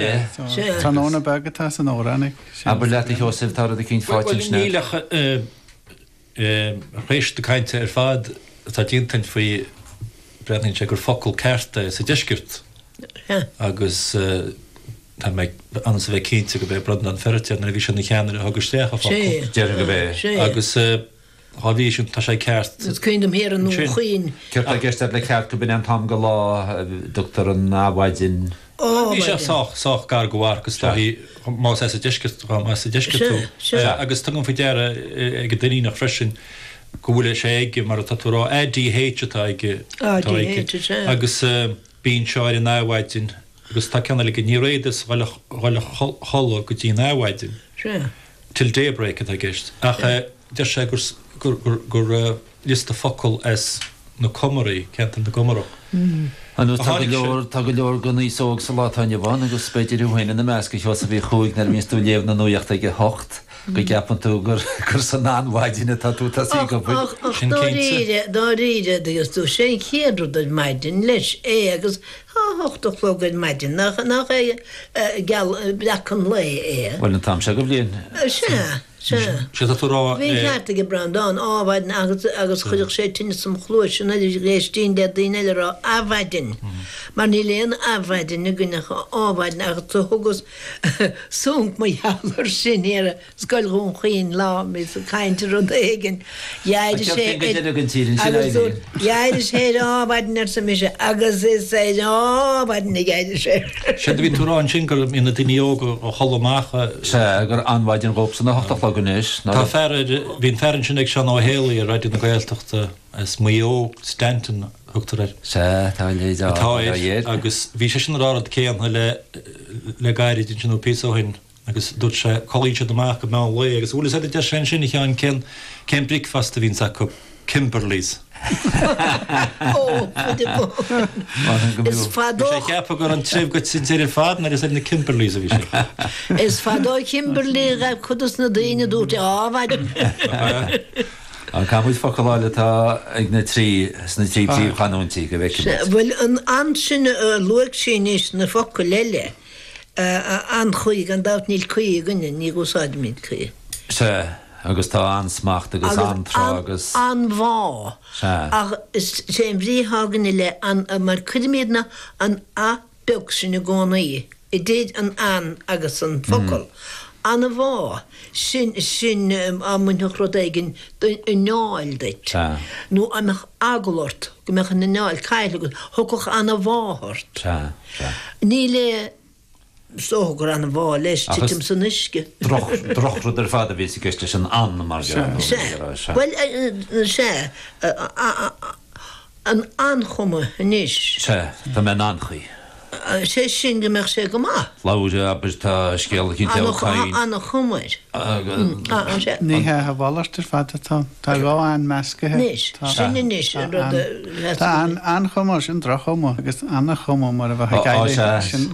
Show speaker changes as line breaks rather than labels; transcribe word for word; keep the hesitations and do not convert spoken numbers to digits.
Tráthnóna beag atá san amhrán ag
Abair leat a Sheosaimh, tá rud eicínt faighte
Bhuel,
ansin
níl
agat.
ach tar éis na cainte ar fad atá déanta faoi, breathnaíonn sé gur focal ceart é sa deisceart agus tá mé ionas a bheith cinnte go b'é Breandán Feiritéar nuair a bhí sé ina cheannaire a thug isteach an focal.
Déarfainn go b'é.
Agus dhá bhrí sin tá sé ceart.
Is cuimhin liom thiar i nDún
Ansin.
Chaoin.
Céard tá i gceist agat le ceart go b'in é an t-am go lá a dtugtar an adhmhaidin.
Ó,
Bhí sé
mhaidin.
sách, sách gar go mharc is dóichí más as an deisceart, más sa deisceart
Sea,
tú.
sea.
Agus tugaim faoi deara ag an Duinníneach freisin go bhfuil sé aige mar atá tú a rá, ADH atá aige, atá aige.
ADH, sea.
Agus bíonn seo ar an adhmhaidin agus tá ceann eile aige, ní réadas dhul a chodladh go dtí an adhmhaidin.
Sea.
Till daybreak atá i gceist. Ach deir sé gur gur gur liosta focal as na Comaraí, ceantar na gComarach.
Ar ndóigh
a
tá go
tháinig sé.
leor tá go leor den aos óg sa lá atá inniu ann agus b'fhéidir thú féin ina measc, a Sheosaimh Uí Chuaig, nuair a bhíonns tú ag léamh na nuachta ag a hocht go gceapann tú gur gur san anmhaidin atá tú tosaí
Ach,
ag obair.
ach, ach
Sin cinnte.
dáiríre, dáiríre, agus tú, sé an chéad rud ar maidin leis é agus a hocht a chlog ar maidin, nach, nach é geal, breac an lae é.
Bhuel an t-am seo go bhliain.
Sea, sea.
Sé tá tú a rá
Bhí an ceart aige Breandán, ádhmhaidin agus, agus chuirfeadh sé tinneas im chluais nuair a éistinn le daoine eile a rá adhmhaidin, mar níl aon adhmhaidin againn ach ádhmhaidin agus do thugas sonc mar gheall air sin thiar i Scoil Dhún Chaoin lá, bhíos ag caint ar rud éigin,
An
d'éirigh
ceart
sé
féin go
ar,
deireadh den tír ansin
agus
Eileen.
dúirt, d'éirigh sé ar ádhmhaidin arsa mise agus is ar ádhmhaidin a d'éirigh sé.
Séard a bhí tú a rá ansin go mbíonn na daoine óga á chodladh amach.
Sea, gur anmhaidin dhóibhsean a hocht a chlog anois,
Tá
ná.
fear ar, bhí an fear ansin ag Seán Ó Héalaí ar Raidió na Gaeltachta as Maigh Eo, Stanton a thugtar air.
Sea, tá a leithéid
Atá
á
air
air.
agus bhí seisean ag rá rud céanna le le gairid ansin nó píosa ó shin agus dúirt sé codlaíonn siad amach go meán lae agus bhfuil fhios agat a deir sé ansin a Sheáin cén cén bricfeasta a bhíonns acu, Kimberleys.
Ó, fuide bó. Is
Bhí
fadó
sé ag ceapadh go raibh an treibh goite an deireadh ar fad nuair is ar na Kimberleys a bhí sé.
Is fadó Kimberley ghabh cuid dos na daoine a dúirt ádhmhaidin.
An caithfidh muid focal a fháil atá ag na trí sna trí príomhchanúintí go bhfeicfidh
Sea,
muid.
bhuel an an sin a luaigh sí anois na focail eile, an-chaoi, gan dabht níl caoi againne, ní úsáidimid caoi.
Sea, agus tá an-smacht agus
Agus
an-tráth agus.
an-mhaith.
Sea.
Ach is é an bhrí atá againne le an, mar cuirimidne an a beag sin i gcónaí idir an an agus an focal. An-mhaith. Sin, sin á mbainfeadh rud éigin d'anáil duit.
Sea.
Nó á mbeadh eagla ort, go mbeadh an anáil caillte agat, thiocfadh an-mhaith ort.
Sea, sea.
Níl é, is dócha gur an-mhaith leis
Ach is
titim san uisce.
droch, drochrud ar fad a bhí i gceist leis an an mar gheall, nó
Sea.
mar gheall, sea.
Bhuel, sea, an an-chuma anois.
Sea, tá mé in an-chaoi.
Sé sin go mbeadh sé go maith.
Labhair, abair, tá scéal eicínt ó Cain.
An-chuma air. Sea.
Ní hea, a mhalairt ar fad atá. Tá dhá an meascaithe.
Anois, sin anois an rud a
Tá an-chuma, sin droch-chuma agus an-chuma mar a bheadh ag
Ó,
éirí.
sea.
Sin